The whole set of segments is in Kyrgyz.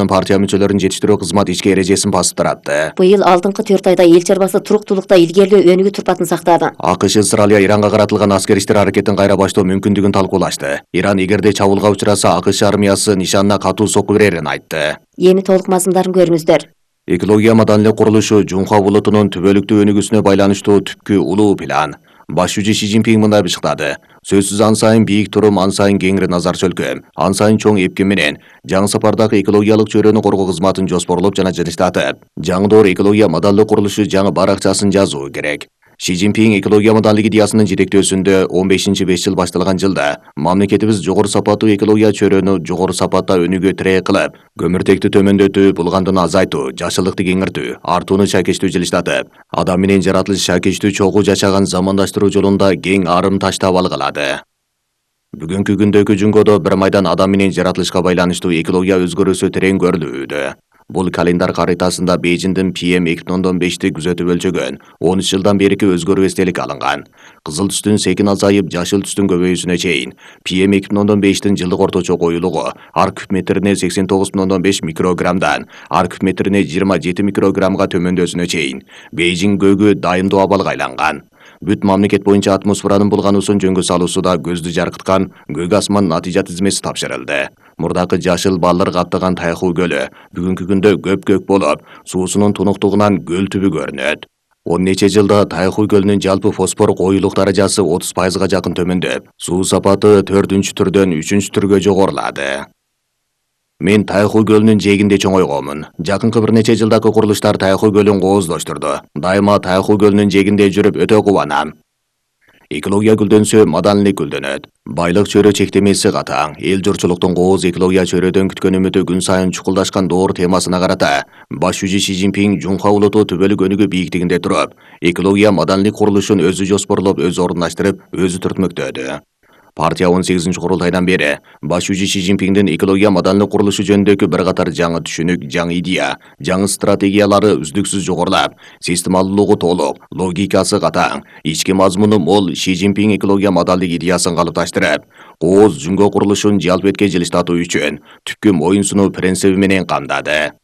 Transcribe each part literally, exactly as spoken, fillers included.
партия мүчөлөрүн жетиштирүү кызмат ички эрежесин басып таратты. Быйыл алдыңкы төрт айда эл чарбасы туруктуулукта илгерилөө өнүгүү турпатын сактады. АКШ Израиль Иранга каратылган аскер иштер аракетин кайра баштоо мүмкүндүгүн талкуулашты. Иран эгерде чабуулга учураса АКШ армиясы нишанына катуу сокку берерин айтты. Эми толук мазмундарын көрүңүздөр. Экология маданилык курулушу Жунха булутунун түбөлүктүү өнүгүүсүнө байланыштуу түпкү улуу план. Баш жүзү Си Цзиньпин мындай бышыктады. Сөзсүз ан сайын бийик турум, ан сайын кеңири назар чөлкөм, ан сайын чоң эпкем менен жаңы сапардагы экологиялык чөйрөнү коргоо кызматын жоспорлоп жана жылыштатып, жаңы доор экология маданилык курулушу жаңы баракчасын жазуу керек. Си Цзиньпин экология маданилык идеясынын жетектөөсүндө он бешинчи беш жыл башталган жылда мамлекетибиз жогору сапаттуу экология чөйрөнү жогору сапатта өнүгүү тирек кылып, көмүртекти төмөндөтүү, булгандыны азайтуу, жашылыкты кеңиртүү, артууну шайкештүү жылыштатып, адам менен жаратылыш шайкештүү чогуу жашаган замандаштыруу жолунда кең арым таштап алгылады. Бүгүнкү күндөгү Жунгодо бир майдан адам менен жаратылышка байланыштуу экология өзгөрүүсү терең көрүлүүдө. Бул календар каритасында Бейжиңдин Пи Эм эки миң он бешти күзөтүп өлчөгөн он үч жылдан берки өзгөрүү эстелик алынган. Кызыл түстүн секин азайып, жашыл түстүн көбөйүүсүнө чейин Пи Эм эки миң он бештин жылдык орточо коюлугу ар куб метрине сексен тогуз миң он беш микрограммдан ар куб метрине жыйырма жети микрограммга төмөндөсүнө чейин Бейжиң көөгү дайымдуу абалга айланган. Бүт мамлекет боюнча атмосферанын булгануусун жөнгө салуусуда көздү жаркыткан көк асман натыйжа тизмеси тапшырылды. Мурдакы жашыл балдыр каптаган Тайху көлү бүгүнкү күндө көп-көк болуп, суусунун тунуктугунан көл түбү көрүнөт. он нече жылда Тайху көлүнүн жалпы фосфор коюлук даражасы отуз пайызга жакын төмөндөп, суу сапаты төртүнчү түрдөн үчүнчү түргө жогорулады. Мен Тайху көлүнүн жээгинде чоңойгонмун. Жакынкы бир нече жылдагы курулуштар Тайху көлүн кооздоштурду. Дайыма Тайху көлүнүн жээгинде жүрүп өтө кубанам. Экология гүлдөнсө, маданилык гүлдөнөт. Байлык чөйрө чектемеси катаң. Эл журтчулуктун кооз экология чөйрөдөн күткөн үмүтү күн сайын чукулдашкан доор темасына карата баш жүзү Си Цзиньпин Жунха улуту түбөлүк өнүгүү бийиктигинде туруп, экология маданилык курулушун өзү жоспорлоп, өзү орундаштырып, өзү түртмөктөдү. Партия он сегизинчи курултайдан бери баш жүзү Си Цзиньпиндин экология маданилык курулушу жөнүндөгү бир катар жаңы түшүнүк, жаңы идея, жаңы стратегиялары үздүксүз жогорулап, системалуулугу толук, логикасы катаң, ички мазмуну мол Си Цзиньпин экология маданилык идеясын калыпташтырып, кооз Жунго курулушун жалпетке жылыштатуу үчүн түпкү моюн сунуу принциби менен камдады.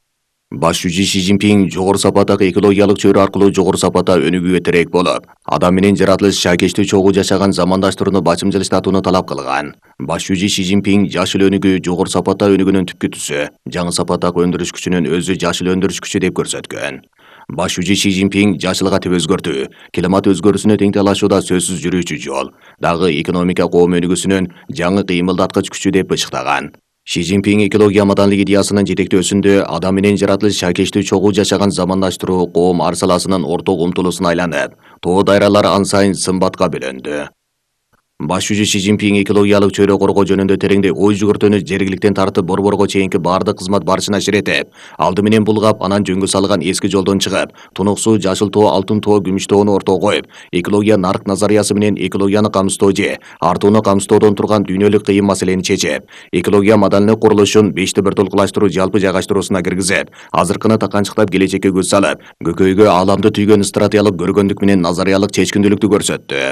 Баш жүзү Си Цзиньпин жогору сапаттагы экологиялык чөйрө аркылуу жогору сапатта өнүгүүгө тирек болуп, адам менен жаратылыш шайкештүү чогуу жашаган замандаштырууну бачым жылыштатууну талап кылган. Баш жүзү Си Цзиньпин жашыл өнүгүү жогору сапатта өнүгүүнүн түпкү түсү, жаңы сапаттагы өндүрүш күчүнүн өзү жашыл өндүрүш күчү деп көрсөткөн. Баш жүзү Си Цзиньпин жашыл катып өзгөртүү, климат өзгөрүүсүнө тең талашууда сөзсүз жүрүүчү жол, дагы экономика коом өнүгүүсүнүн жаңы кыймылдаткыч күчү деп бышыктаган. Си Цзиньпин экология маданилык идеясынын жетектөөсүндө адам менен жаратылыш шайкештүү чогуу жашаган замандаштыруу коом ар саласынын орток умтулусуна айланып, тоо дайралар ан сайын сымбатка бөлөндү. Баш жүзү Си Цзиньпин экологиялык чөйрө коргоо жөнүндө тереңдей ой жүгүртүүнү жергиликтен тартып борборго чейинки баардык кызмат барышына ширетип, алды менен булгап, анан жөнгө салган эски жолдон чыгып, тунук суу, жашыл тоо, алтын тоо, күмүш тоону ортого коюп, экология нарк назариясы менен экологияны камсыздоо же артууну камсыздоодон турган дүйнөлүк кыйын маселени чечип, экология маданилык курулушун бешти бир толкулаштыруу жалпы жайгаштыруусуна киргизип, азыркыны таканчыктап келечекке көз салып, көкөйгө ааламды түйгөн стратегиялык көргөндүк менен назариялык чечкиндүүлүктү көрсөттү.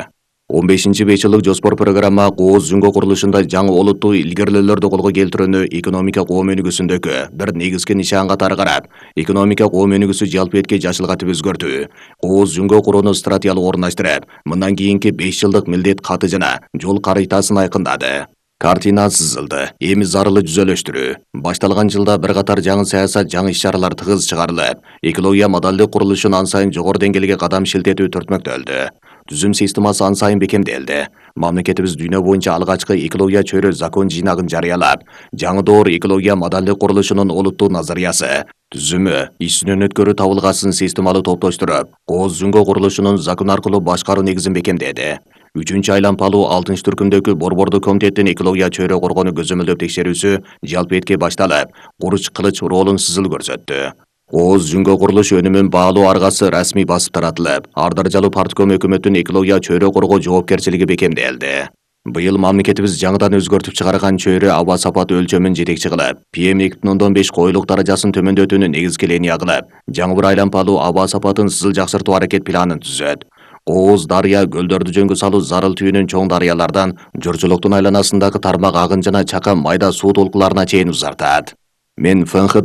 он бешинчи беш жылдык жоспор программа кооз Жунго курулушунда жаңы олуттуу илгерилөөлөрдү колго келтирүүнү экономика коом өнүгүүсүндөгү бир негизги нишан катары карап, экономика коом өнүгүүсү жалпы этке жашыл катып өзгөртүү, кооз Жунго курууну стратегиялык орундаштырып, мындан кийинки беш жылдык милдет каты жана жол каритасын айкындады. Картина сызылды. Эми зарылы жүзөлөштүрүү. Башталган жылда бир катар жаңы саясат, жаңы иш-чаралар тыгыз чыгарылып, экология маданилык курулушун ан сайын жогору деңгээлге кадам шилтетүү түртмөктөлдү. Түзүм системасы ан сайын бекемделди. Мамлекетибиз дүйнө боюнча алгачкы экология чөйрө закон жыйнагын жарыялап, жаңы доор экология маданилык курулушунун олуттуу назариясы, түзүмү, ишинин өткөрүү табылгасын системалуу топтоштуруп, кооз Жунго курулушунун закон аркылуу башкаруу негизин бекемдеди. үчүнчү айланпалуу алтынчы түркүмдөгү борбордук комитеттин экология чөйрө коргоону көзөмөлдөп текшерүүсү жалпы этке башталып, Куруч Кылыч ролун сызыл көрсөттү. Кооз Жунго курулуш өнүмүн баалуу аргасы расмий басып таратылып, ар даражалуу партком өкмөттүн экология чөйрө коргоо жоопкерчилиги бекемделди. Быйыл мамлекетибиз жаңыдан өзгөртүп чыгарган чөйрө аба сапаты өлчөмүн жетекчи кылып, Пи Эм эки миң он беш коюлук даражасын төмөндөтүүнү негизги линия кылып, жаңы бир айланпалуу аба сапатын сызыл жакшыртуу аракет планын түзөт. Кооз дарыя көлдөрдү жөнгө салуу зарыл түйүнүн чоң дарыялардан журтчулуктун айланасындагы тармак агын жана чакан майда суу толкуларына чейин узартат. Мен ФНХ